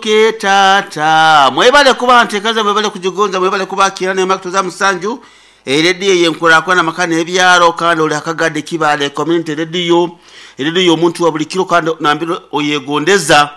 Ke taata mwebale kuba ntekaza mwebale kujigonza mwebale kubakira nema musanju erediyo yenkurakurana amaka n'ebyaro kandi oli akagade kibale community radio erediyo omuntu wa buli kiro kandi nambire oyegondeza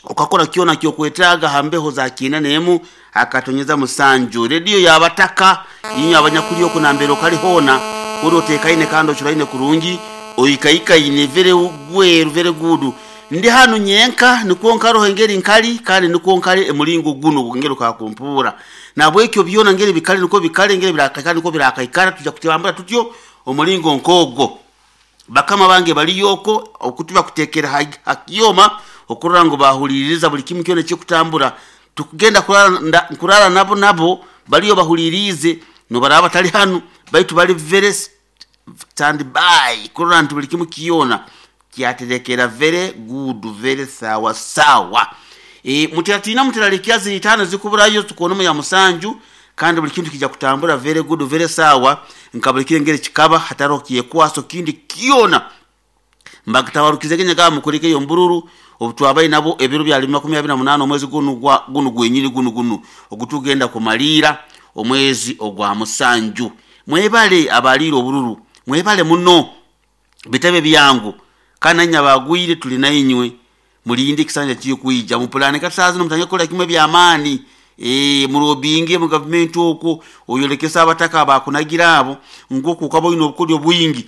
okakora kyona kyokwetaaga hambeho za kiina n'emu akatonyeza musanju rediyo yabataka inyo abanyakuli oku nambere okali hoona uri otekaine kandi ocuraine kurungi oikaikaine very gweru very good. Ndi hanu nyenka nikwo nkaroho engeri nkali kandi nikwo nkali emulingo guno ngeri kakumpura nabwekyo byona ngeri bikali nikwo bikali ngeri birakaikara nikwo birakaikara tuja kutambura tutyo omulingo nkogwo. Bakama bange baliyoko okutuba kutekera hakiyoma okurora ngu bahuliriza buli kimu kyona ekikutambura tukugenda kurara nabo nabo baliyo bahulirize nobaraba batali hanu baitu bali very stand by kurora nti buli kimu kyona kyaterekera very good very sawa sawa. Mutiratina mutiralikia ziri tano zikuburayo tukonomu ya musanju kandi buli kintu kija kutambura very good very sawa nka buli kirengere kikaba hataro kyekwaso kindi kyona mbagitabarukize kenya kama mukurike yo mbururu obutwabaye nabo ebiro bya 28 omwezi gunu gwa gunu gwenyini gunu gunu ogutugenda kumalira omwezi ogwa musanju. Mwebale abaliro obururu mwebale muno bitabe byangu kana nyabagwire tuli nainywe mulinde kisanja kiyo kuija mupulane katazi no mutanye kola kimwe bya amani murobinge mu government okwo oyolekesa abataka abakunagira abo ngoku ukabo ino obukodyo bwingi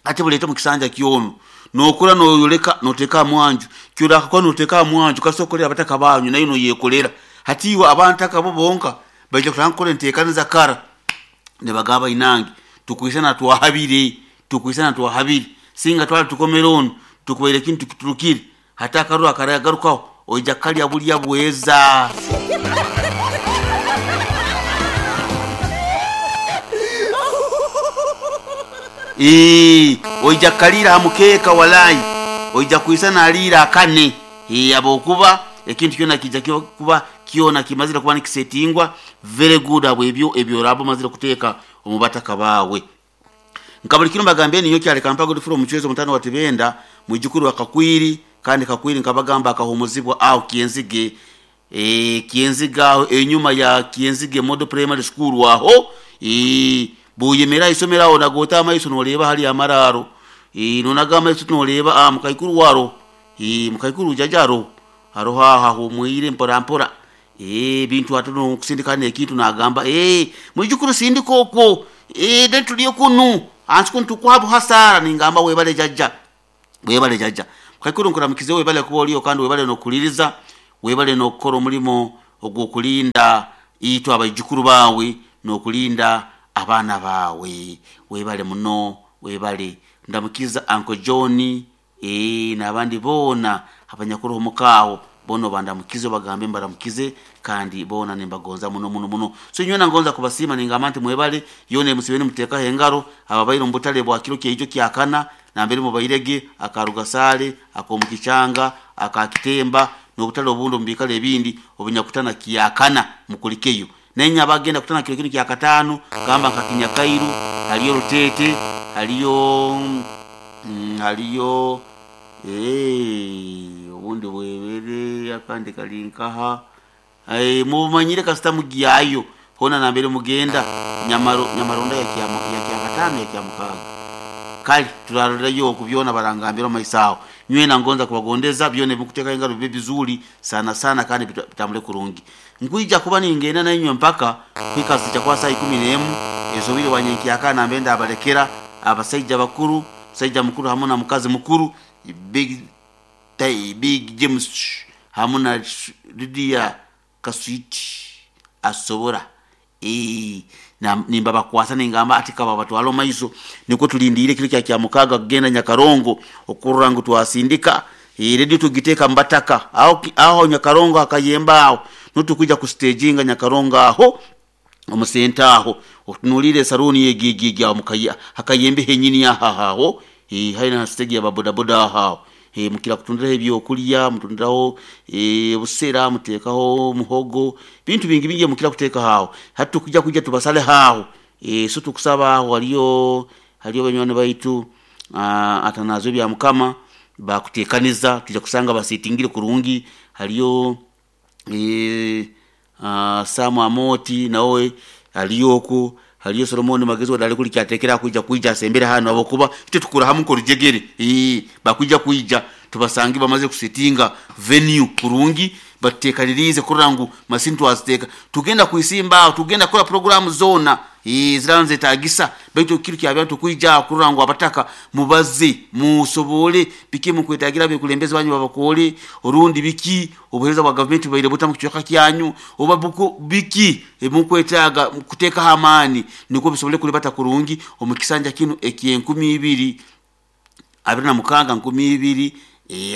ate bulete mu kisanja kyono nokura noyoleka noteka mwanju kyura ko noteka mwanju kasokolera abataka banyu nayo no yekolera hatiwa abantaka bo bonka baje kutankole ntekaniza kara ne bagaba inange tukuisana twahabire tukuisana twahabire singa twali tukomera ono tukubaire kintu kiturukire hata akaruru akaragarukaho oija kalya bulya bweza. Oija kalira hamukeka walai oija kuisana alira akane abokuba ekintu kyona kija kuba kyona kimazira kuba nikisetingwa very good abo ebyo ebyo rabo mazira kuteeka omubataka bawe. Nkabuli kino bagambye niyo kyale kampago difuro omuchwezo mutano wa Tibenda mwijukuru wa Kakwiri kandi Kakwiri nkabagamba akahumuzibwa au Kienzige Kienziga aho enyuma ya Kienzige Model Primary School aho buyemera isomera aho nagota amaiso noleba hali amararo nonaga amaiso noleba mukaikuru waro mukaikuru jajaro aroha hahumwire mpora mpora bintu atono kusindikana ekintu nagamba mwijukuru sindiko okwo dentuliyo kunu ansi kuntu kwabu hasara ningamba webale jajja webale jajja mukaikuru nkuramukize webale kuba oliyo kandi webale nokuliriza webale nokukora omulimo ogw'okulinda itwe abaijukuru bawe nokulinda abaana bawe webale muno webale ndamukiza Uncle John n'abandi boona abanyakuru omukaawo bono bandamukize bagambe mbaramukize kandi bona nimbagonza muno muno muno. So nyowe nangonza kubasiima ningamba nti mwebale yone musibeni mutekaho engaro ababaire omu butale bwa kiro kyeijo kyakana nambere mubairege akarugasale akomukichanga akakitemba n'obutale obundi omu biikaro ebindi obunyakutana kyakana mukulikeyo nenya abagenda kutana kiro kinu kyakataano gamba nka Kinyakairu haliyo Rutete haliyo haliyo obundi bwebere akandi kali nkaha mubumanyire kasita mugyayo hona nambere mugenda nyamaronda ya kyakataano ya kyamukaaga kali turarorerayo okubyona barangambira omaiso aho nyowe nangonza kubagondeza byona ebikutekaho engaro bibe bizuri sana sana kandi bitambule kurungi. Nkwija kuba ningenda nainywe mpaka kwikazija kwa saa 11 ezobire wanyenkyaka nambe ndabalekera abasaija bakuru musaija mukuru hamu na mukazi mukuru big big James hamu na Lydia Kaswiti asobora nimba bakwasa ningamba ati kaba batwala omaiso nikwo tulindire kiro kya kyamukaga kugenda Nyakarongo okurora ngu twasindika redio tugiteeka mbataka aho aho Nyakarongo akayemba aho nutukuja kustaginga Nyakarongo aho omusenta aho otunulire saruni yegigigi aho mukaya hakayembe henyini ahaho haina stage ya bodaboda aho mukira kutundiraho ebyokulya mutundiraho busera mutekaho muhogo bintu bingi bingi mukira kuteka haho hatu kuja kuja tubasale haho so tukusaba aho haliyo haliyo banywani baitu atanazo bya mukama bakutekaniza tuja kusanga basitingire kurungi haliyo. Sam Amoti nawe aliyo oku, haliyo Solomon Magezi wadali kuli kyatekera kwija kwija asembere hano habwokuba itwe tukura hamu nkorujegere. Bakwija kwija tubasange bamaze kusetinga venue kurungi, batekanirize kurora ngu masini twaziteeka, tugenda kwisimba aho, tugenda kukora programu zoona ziraba nizetagisa, baitu kiro kyabya tukwija kurora ngu abataka mubaze musobole biki mukwetagira abekulembezi banyu babakole, orundi biki obuheereza bwa gavumenti bubaire buta mu kicweka kyanyu, oba buko biki ebimukwetaaga kuteekaho amaani nukwo bisobole kulibata kurungi omu kisanja kinu eky'enkumi ibiri abiri na mukaaga nkumi ibiri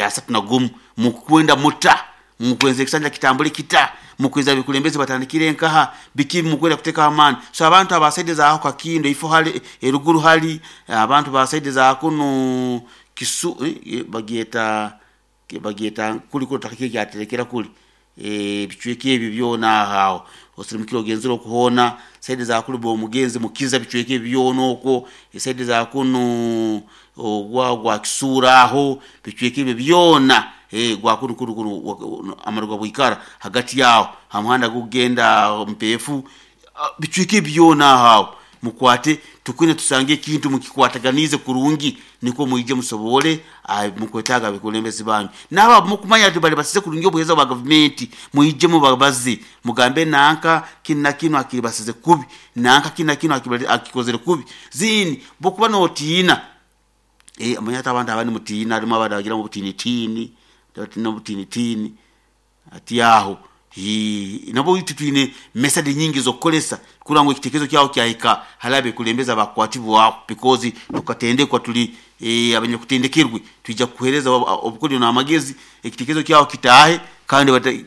asatu na gumu. Mukwenda muta mukwenza ekisanja kitambule kita, mukwenza abekulembezi batandikire nkaha, biki mukwenda kuteekaho amaani. So abantu aba saidi za Kakindo ifo hali eruguru hali abantu ba saidi za kunu kisu bagyeta bagyeta kuli kuli takiki kyaterekera kuli ebicweka ebyo byona aho osirimukire ogenzere okuhoona saidi za kuli bomugenzi mukiza bicweka ebyo byona okwo saidi za kunu ogwa gwa Kisuura aho bicweka ebyo byona gwa kunu kunu kunu amaruga bwikara hagati yaho ha muhanda gukugenda Mpeefu, bicweka ebyo byona aho mukwate tukwine tusange ekintu mukikwataganize kurungi nikwo mwije musobole mukwetaaga abekulembezi banyu. Naabo mukumanya nti bali basize kurungi obuheereza bwa gavumenti mwije mubabaze mugambe nanka kinu na kinu akibasize kubi, nanka kinu na kinu akikozere kubi. Zini bwokuba notiina manya hati abantu abandi mutiina, harimu abandi abagira obutinitini, batina obutinitini hati aho nabwo itwe twine method nyingi z'okukozesa kurora ngu ekitekerezo kyawe kyahika hali abekulembezi abakukwatibwaho, because tukatendekwa tuli abanyakutendekerwe, twija kukuheereza obukodyo n'amagezi ekitekerezo kyawe kitaahe kandi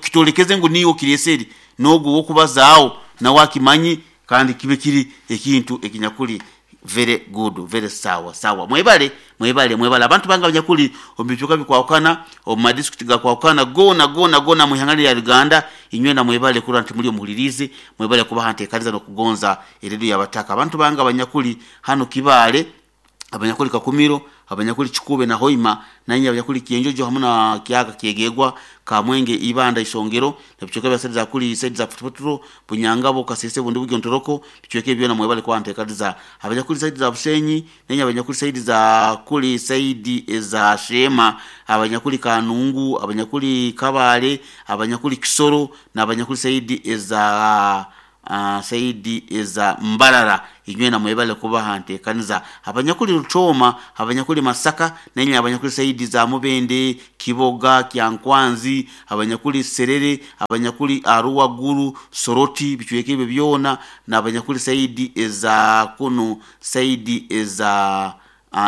kitolekeze ngu niiwe okireesere, n'ogu ow'okubazaaho nawe akimanye kandi kibe kiri ekintu ekinyakuli very good, very sawa sawa. Mwebale mwebale mwebale abantu bange abanyakuli omu bicweka bikwahukana omu madisitulikiti gakwahukana goona goona goona omu ihanga lya Uganda, inywena mwebale kurora nti muli omuhuliriize, mwebale kubaha nteekaniza n'okugonza erediyo y'abataka. Abantu bange abanyakuli hanu Kibaale, abanyakuli Kakumiro, abanyakuli Kikuube na Hoima, nainywe abanyakuli Kyenjojo hamu na Kyaka Kyegegwa, Kamwenge, Ibanda, Isongero, ebicweka bya saidi za kuli saidi za Futufuturo, Bunyangabo, Kasese, Bundibugyo, Ntoroko, bicweka ebyo byona mwebale kuba nteekaniza. Abanyakuli saidi za Busenyi, nainywe abanyakuli saidi za kuli saidi eza Sheema, abanyakuli Kanungu, abanyakuli Kabale, abanyakuli Kisoro, n'abanyakuli saidi eza saidi eza Mbarara, inywena mwebale kubaha nteekaniza. Abanyakuli Rutooma, abanyakuli Masaka, nainywe abanyakuli saidi za Mubende, Kiboga, Kyankwanzi, abanyakuli Serere, abanyakuli Arua Guru, Soroti, bicweka ebyo byona, n'abanyakuli saidi eza kunu saidi eza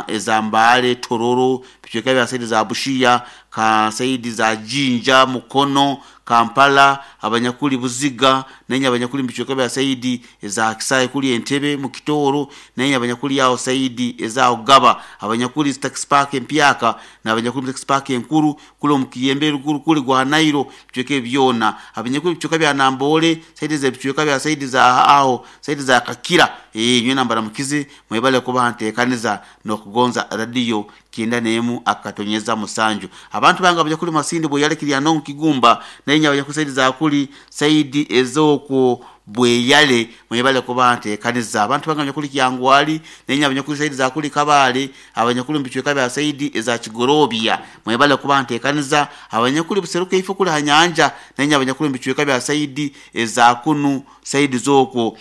eza Mbale, Tororo, bicweka bya saidi za Bushia, ka saidi za Jinja, Mukono, Kampala, abanyakuli Buziga, nainywe abanyakuli mu bicweka bya saidi eza Kisaayi kuli Entebbe mu Kitooro, nainywe abanyakuli aho saidi eza Gaba, abanyakuli Taxi Park empyaka, n'abanyakuli Taxi Park enkuru, kuli omu Kiyembe eruguru kuli gwa Nairo, bicweka ebyo byona, abanyakuli bicweka bya Namboole, saidi z'ebicweka bya saidi za aho saidi za Kakira, inywena mbaramukize mwebale kubaha nteekaniza n'okugonza radiyo 91.7. Abantu bange abanyakuli Masindi Bweyale Kiryanongo Kigumba, nainywe abanyakuli saidi za kuli saidi ez'okwo Bweyale mwebale kubaha nteekaniza. Abantu bange abanyakuli Kyangwali, nainywe abanyakuli saidi za kuli Kabale, abanyakuli mu bicweka bya saidi eza Kigorobya mwebale kubaha nteekaniza. Abanyakuli Buseruka ifo kuli ha nyanja, nainywe abanyakuli mu bicweka bya saidi eza kunu saidi z'okwo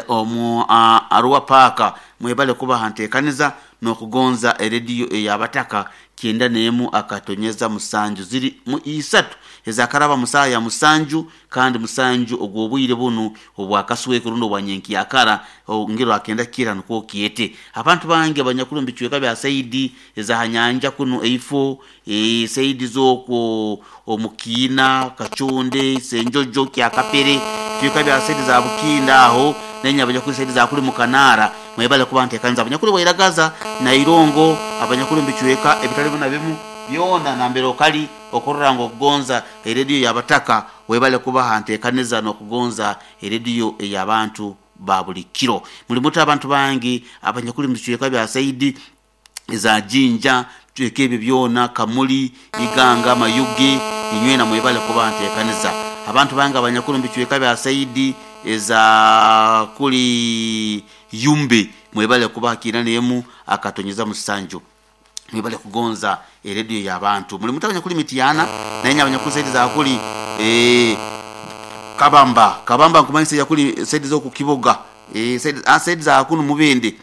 omu Arua Park mwebale kubaha nteekaniza n'okugonza erediyo ey'abataka 91.7. Ziri mu isatu ezakaraba mu saaha ya musanju kandi musanju ogw'obwire bunu obwakasweko rundi obwa nyenkyakara ngiro akenda kira nukwo kyete. Abantu bange abanyakuli mu bicweka bya saidi eza ha nyanja kunu eifo saidi z'okwo omu Kiina, Kachonde, Senjojo, Kyakapere, bicweka bya saidi za Bukinda aho, nainywe abanyakuli saidi za kuli Mukanaara mwebale kuba nteekaniza. Abanyakuli Bwairagaza na Irongo, abanyakuli mu bicweka ebitali bimu na bimu byona nambere okali okurora ngu okugonza erediyo y'abataka webale kubaha nteekaniza n'okugonza erediyo ey'abantu ba buli kiro. Muli muta abantu bange abanyakuli mu bicweka bya saidi eza Jinja, bicweka ebyo byona, Kamuli, Iganga, Mayuge, Inywena mwebale kuba nteekaniza. Abantu bange abanyakuli omu bicweka bya saidi eza kuli Yumbe mwebale kuba kiina n'emu akatonyeza musanju. Mwebale kugonza erediyo y'abantu. Muli muta abanyakuli Mityana nainye abanyakuli saidi za kuli Kabamba. Kabamba nkumanyisa eyakuli saidi z'oku Kiboga, saidi za kunu Mubende.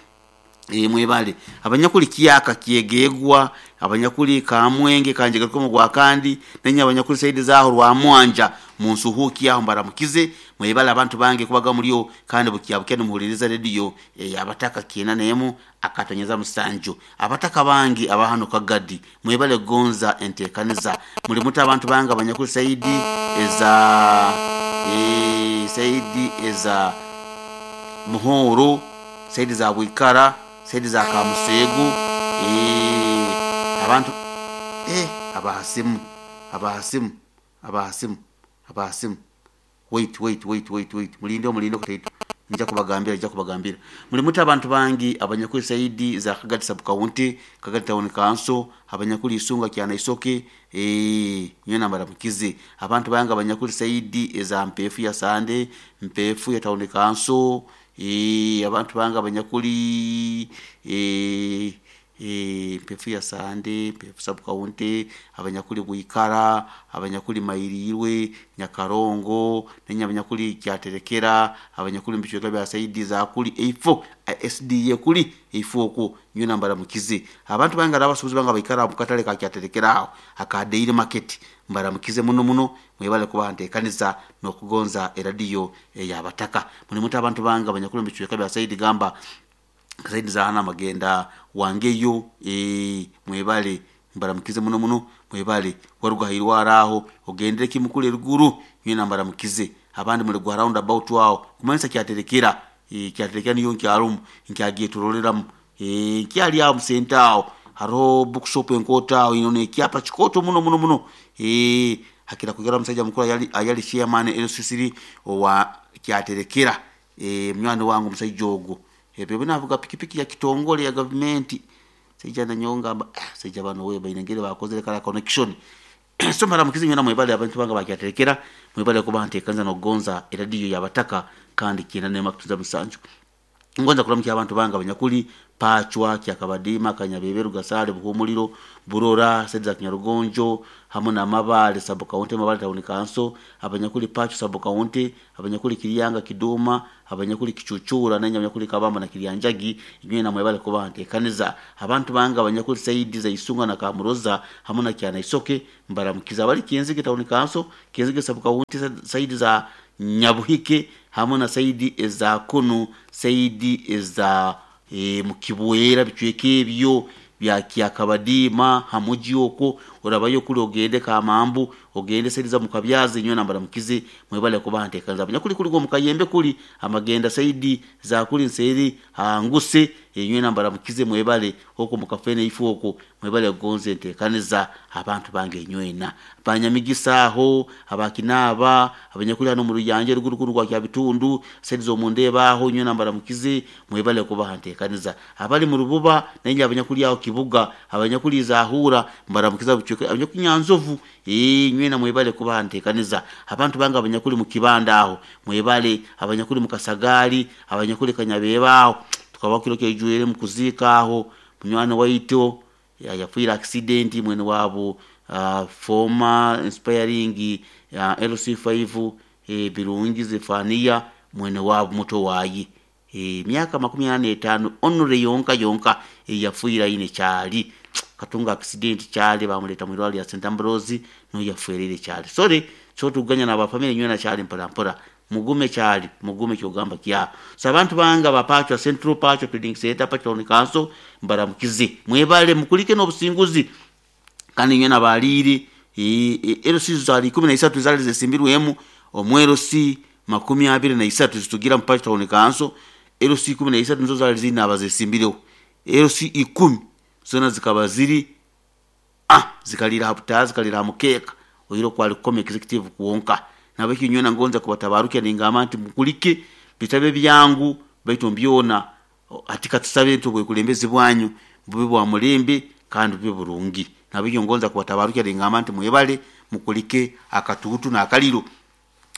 Mwebale. Abanyakuli Kyaka Kyegegwa, abanyakuli Kamwenge Kanjegarukamu Gwakandi, nainye abanyakuli saidi zaaho Rwamwanja munsuhuuki aho mbaramukize. Mwebale abantu bange kubaga mulyo kandi bukyabukya nimuhuliriza rediyo ey'abataka kiina n'emu akatonyeza musanju. Abataka bange aba hano Kagadi mwebale kugonza enteekaniza. Muli muta abantu bange abanyakuli saidi eza saidi eza Muhoro, saidi za Bwikara, saidi za Kamuseegu, abantu abahasimu, abahasimu, abahasimu, abahasimu. Wait, wait, wait, wait, wait. Mulinde mulinde kutaito. Nja kubagambira, nja kubagambira. Muli muta abantu bangi abanyakuli saidi za Kagadi sub county, Kagadi town council, abanyakuli Isunga kyana Isoke, nyona mbaramukize. Abantu bangi abanyakuli saidi eza Mpefu ya Sande, Mpefu ya town council, abantu bangi abanyakuli Mpefu ya Sande, Mpefu sub county, abanyakuli Bwikara, abanyakuli Mairirwe, Nyakarongo, nenye abanyakuli Kyaterekera, abanyakuli mbicweka bya saidi za kuli A4, SDA kuli A4 okwo nyona mbaramukize. Abantu bangi abasuubuzi bange baikara mu katale ka Kyaterekera aho aka Daily Market mbaramukize muno muno mwebale kuba nteekaniza n'okugonza eradiyo ey'abataka. Muli muta abantu bange abanyakuli mbicweka bya saidi gamba saidi za hana magenda wangeyo, mwebale mbaramukize muno muno mwebale waruga hairwara aho ogendere kimukule ruguru nyina mbaramukize. Abandi muli gwa round about aho kumanyisa Kyaterekera, Kyaterekera niyo nkyarumu nkyagiye turoreramu, nkyali aho musenta aho hariho bookshop enkota aho ino nekyapa kikoto muno muno muno, hakira kugera omusajja mukuru ayali chairman LCC owa Kyaterekera, munywani wange omusajja ogwo ebyo binavuga pikipiki ya kitongole ya gavumenti saija nanyonga amba saija bano we bainengere bakozere kala connection. So mbaramukize nyona mwebale abantu bange bakyaterekera mwebale kuba ntekanza n'okugonza eradiyo y'abataka kandi kiina nema kutuza musanju. Ngonza kuramukya abantu bange abanyakuli Pachwa, Kyakabadima, Kanyabeberu, Gasale, Buhumuliro, Burora, saidi za Kinyarugonjo hamwe na Mabale sub county, Mabale town council, abanyakuli Pachwa sub county, abanyakuli Kiryanga Kiduma, abanyakuli Kichuchura nenya abanyakuli Kabamba na Kiryanjagi inywe na mwebale kuba nteekaniza. Abantu bange abanyakuli saidi za Isunga na Kamuroza hamwe na Kyana Isoke mbaramukiza. Abali Kenzige town council, Kenzige sub county, saidi za Nyabuhike hamwe na saidi eza Kunu, saidi eza Mukibwera bicweka ebyo bya Kyakabadima hamuji okwo orabayo kuli ogende Kamambu ogende saidi za Mukabyazi nyona mbaramukize mwebale kuba nteekaniza. Abanyakuli kuli go Mukayembe kuli amagenda saidi za kuli nseri hanguse enywena mbaramukize mwebale okwo mukafene ifu okwo mwebale gonze nteekaniza. Abantu bange enywena banyamigisa aho abakinaba abanyakuli hano mu Ruyanje ruguru rwa Kyabitundu saidi z'omundeba aho enywena mbaramukize mwebale kuba nteekaniza. Abali mu Rububa nenye abanyakuli aho Kibuga abanyakuli Zahura mbaramukiza bucweka abanyakuli Nyanzovu nywena mwebale kuba nteekaniza. Abantu bange abanyakuli mu Kibanda aho mwebale, abanyakuli mu Kasagali, abanyakuli Kanyabeba aho tukaba kiro kyejwere mu kuziika aho munywani waito yafiira accident mwene wabo former inspiring LC5 Birungi Zefania mwene wabo muto wayi miaka 45 onore yonka yonka yafiira ine kyali katunga accident kyali bamuleta mu irwaliro lya St Ambrose no yafuerere kyali. Sorry so tuganya na bafamily nywena kyali mpora mpora mugume kyali mugume kyogamba kya so abantu banga bapachwa Central Pachwa Trading Center Pachwa Town Council mbaramukize mwebale mukulike n'obusinguzi kandi nywena baliri LC zali 13 zali zesimbirwemu omwero C 23 zitugira mu Pachwa Town Council LC 13 nizo zali zina abazesimbireho LC 10 zona zikaba ziri zikalira haputa zikalira mukeka oyiro kwali kome executive kuwonka nabeki nywena ngonza kubatabarukia ningamba nti mukulike bitabe byangu baitu mbyona atika tusabe nti obwekulembezi bwanyu bube bwa mulembe kandi bube burungi. Nabeki ngonza kubatabarukia ningamba nti mwebale Mukulike akatuutu n'akaliro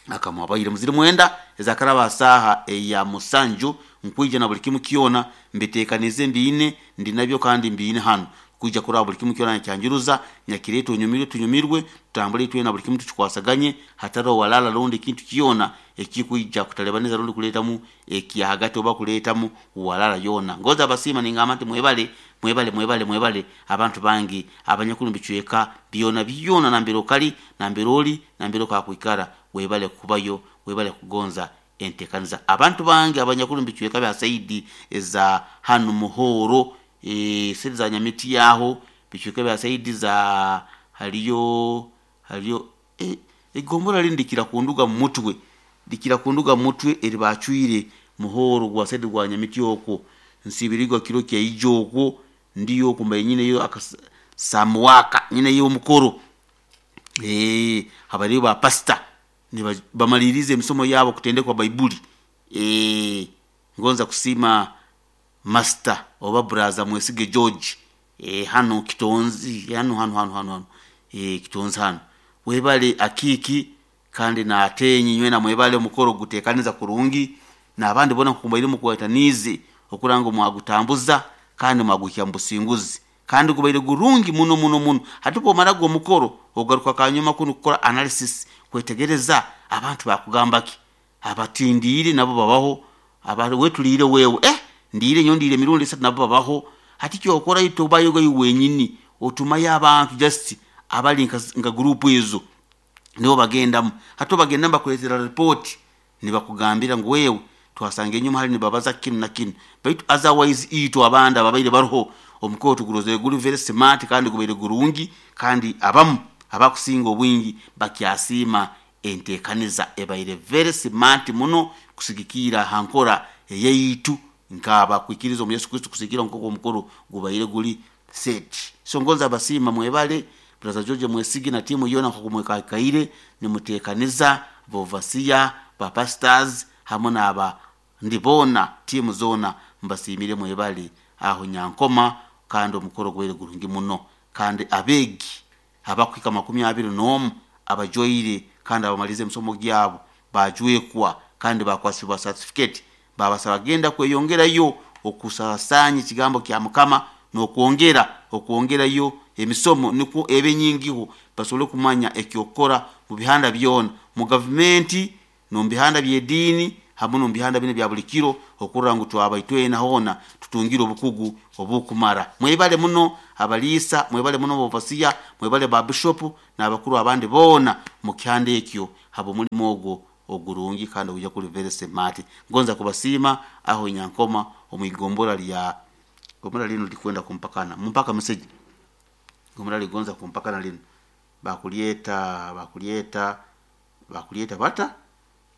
akamwabaire muziri 9 ezakaraba saaha eya 7 nkwija na buli kimu kyona mbitekanize mbiine ndi nabyo kandi mbiine hanu kwija kuraba buli kimu kyona nkyanjuruza nyakireeta onyumirwe tunyumirwe tutambule twena buli kimu tukikwasaganye hatariho walala rundi kintu kyona ekikwija kutalebaniza rundi kuleetamu ekyahagati oba kuleetamu walala yona. Ngoza abasiima ningamba nti mwebale mwebale mwebale mwebale abantu bangi abanyakuru mbicweka byona byona nambere okali nambere oli nambere okakwikara webale kubayo webale kugonza entekaniza. Abantu bangi abanyakuru mbicweka bya saidi eza hanu Muhoro, saidi za Nyamiti yaho bicweka bya saidi za haliyo egombora lindi kunduga mutwe dikira kunduga mutwe eri bacwire Muhoro gwa saidi gwa Nyamiti okwo nsibirigwa kiro kya ijo okwo ndiyo kumba nyine yo akasamuwaka nyine yo mukoro abali ba pastor ni bamalirize emisomo yabo kutendekwa Baibuli. Ngonza kusima master oba braza Mwesige George hano Kitonzi hano hano hano hano Kitonzi hano webale akiki kandi na atenyi nywena mwebale omukoro gutekaniza kurungi n'abandi bona kukumbaire mukwatanize okuranga mwagutambuza kandi mwaguhya mbusinguzi kandi gubaire gurungi muno muno muno. Hatupo marago omukoro ogaruka kanyuma kuno kukora analysis kwetegereza abantu bakugambaki abatindire nabo babaho wetulire wewe ndire nyo ndire mirundi 3 nabo babaho. Hati kyo okora itobayo go wenyini otumaye abantu just abali nka group ezo nibo bagendamu. Hato bagenda bakuletera report nibakugambira ngu wewe twasanga enyuma hali nibabaza kinu na kinu, baitu otherwise ito abanda babaire baruho omukoro tuguroze guri very smart kandi gubaire gurungi kandi abamu abakusinga obwingi bakyasiima entekaniza ebaire very smart muno kusigikira hankora eyeitu nkaba kwikiriza omu Yesu Kristo kusigira nkoko omukoro gubaire guri set. So ngonza abasiima mwebale Brother George Mwesigi na timu yona nkokumwekakaire nimutekaniza bovasia ba pastors hamwe n'aba ndibona timu zona mbasimire mwebale aho Nyankoma kandi omukoro gwere gurungi muno kandi abegi abakwika 21 abajoyire kandi abamalize emisomo gyabo bajwekwa kandi bakwasibwa certificate babasaba genda kweyongerayo okusasanya ekigambo kya Mukama n'okwongera okwongerayo emisomo niko ebe nyingiho basobole kumanya ekyokora mu bihanda byona mu gavumenti no mu bihanda by'ediini hamwe no mu bihanda bine bya buli kiro okurora ngu twabaitwena hona tutungire obukugu obukumara. Mwebale muno abaliisa, mwebale muno bovasiya, mwebale ba bishop n'abakuru abandi boona mu kyanda ekyo habo mulimu ogwo ogurungi kandi oguja kuri very smart. Ngonza kubasiima aho Nyankoma omwigombora lya gombora lino likwenda kumpakana mumpaka message gombora ligonza kumpakana lino bakulieta bakulieta bakulieta bata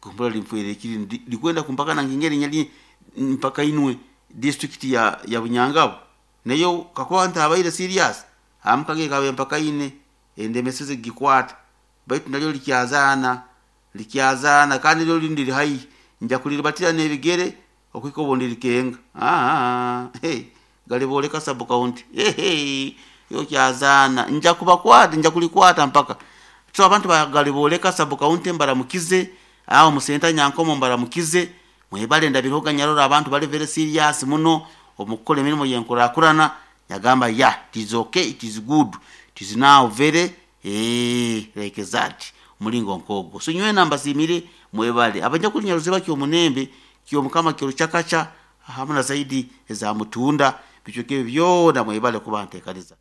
gombora limfwere kiri likwenda kumpakana ngingeri nyali mpaka inwe district ya Bunyangabo nayo kakuba ntabaire serious amkage kabe mpaka ine ende message gikwata baitu nalyo likyazana likyazana kandi lyo lindi hai nja kuliribatira n'ebigere okwiko bondi likenga hey galiboleka sub county hey yo kyazana nja kubakwata nja kulikwata mpaka so abantu bagaliboleka sub county mbaramukize aho musenta Nyankomo mbaramukize mwebale ndabiroga nyarora abantu bali very serious muno omukole emirimu yenkurakurana yagamba ya it is okay, it is good, it is now very like that mulingo nkogo. So nyowe nambasimire mwebale abanya kunyaruze bakyo omunembe kyo Mukama kyo chakacha hamuna zaidi eza mutunda bichokebe byona mwebale kubantekaniza.